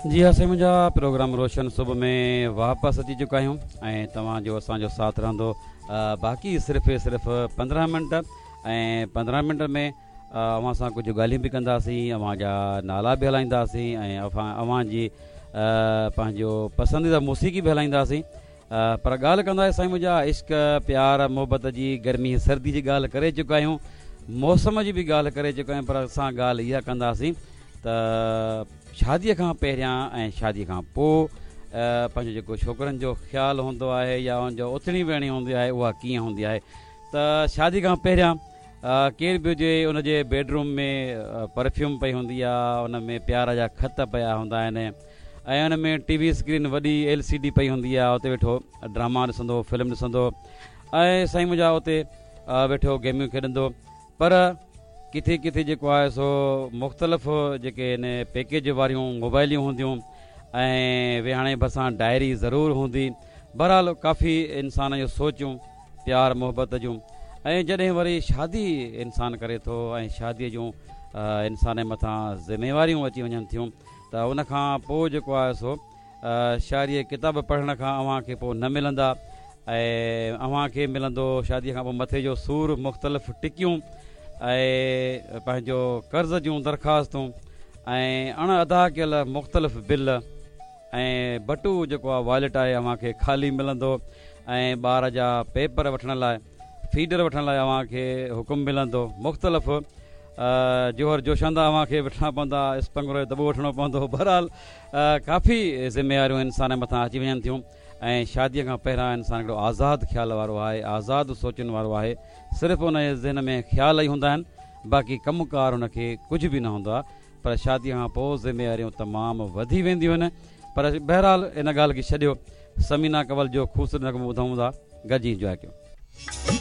جي ها سائين منهنجا پروگرام روشن صبح ۾ واپس اچي چڪا آهيون ۽ توهان جو اسان جو ساٿ رهندو باقي صرف صرف 15 منٽ ۽ 15 منٽ ۾ اوهان سان ڪجهه ڳالهيون به ڪنداسين اوهان جا نالا به هلائينداسين ۽ اوهان جي پنهنجو پسنديده موسيقي به هلائينداسين پر ڳالهه ڪندا سائين منهنجا عشق پيار محبت جي گرمي سردي جي ڳالهه ڪري چڪا آهيون موسم جي به ڳالهه ڪري چڪا آهيون پر اسان ڳالهه اها ڪنداسين ته شادي کان پهريان ۽ شادي کان پوء پنهنجو جيڪو ڇوڪرن جو خيال هوندو آهي يا ان جو اٿڻي ويهڻي هوندي آهي اها ڪيئن هوندي آهي ته شادي کان پهريان ڪير به هجي ان جي بيڊ روم ۾ پرفيوم پئي هوندي آهي ان ۾ پيار جا خط پيا هوندا آهن ۽ ان ۾ ٽي وي اسڪرين وڏي ايل سي ڊي پئي هوندي آهي اتي ويٺو ڊراما ڏسندو فلم ڏسندو ۽ سائين منهنجا اتي ويٺو گيميون کيڏندو پر ڪٿي ڪٿي جيڪو آهي سو مختلف جيڪي ان پيڪيج واريون موبائليون هونديون ۽ ويهاڻي ڀرسان ڊائري ضرور هوندي بهرحال ڪافي انسان جون سوچون پيار محبت جون ۽ جڏهن وري شادي انسان ڪري ٿو ۽ شادي جون انسان جي مٿان ذميواريون اچي وڃن ٿيون ته ان کان پوء جيڪو آهي سو شاعريء ڪتاب پڙهڻ کان اوهان کي پوء نه ملندا ۽ اوهان کي ملندو شاديء کان پوء مٿي جو سور، مختلف ٽڪيون ۽ پنهنجو قرض جون درخواستون ۽ اڻ ادا ڪيل مختلف بل ۽ بٽو جيڪو آهي واليٽ آهي اوهان کي خالي ملندو ۽ ٻار جا پيپر وٺڻ لاء فيڊر وٺڻ لاء اوهان کي حڪم ملندو مختلف جوهر جوشاندا اوهان کي وٺڻا پوندا، اسپنگرو جو دٻو وٺڻو پوندو، بهرحال ڪافي ذميواريون انسان مٿان اچي وڃن ٿيون ۽ شاديء کان پهريان انسان هڪڙو آزاد خيال وارو آهي، آزاد سوچن وارو آهي، صرف ان جي ذهن ۾ خيال ئي هوندا آهن، باقي ڪم ڪار هن کي ڪجهه به نه هوندو آهي، پر شاديء کان پوء ذميواريون تمام وڌي وينديون آهن، پر بهرحال ان ڳالهه کي ڇڏيو، ثمينه ڪنول جو خوبصورت نغمو ٻڌون ٿا، گڏجي انجواء ڪيو.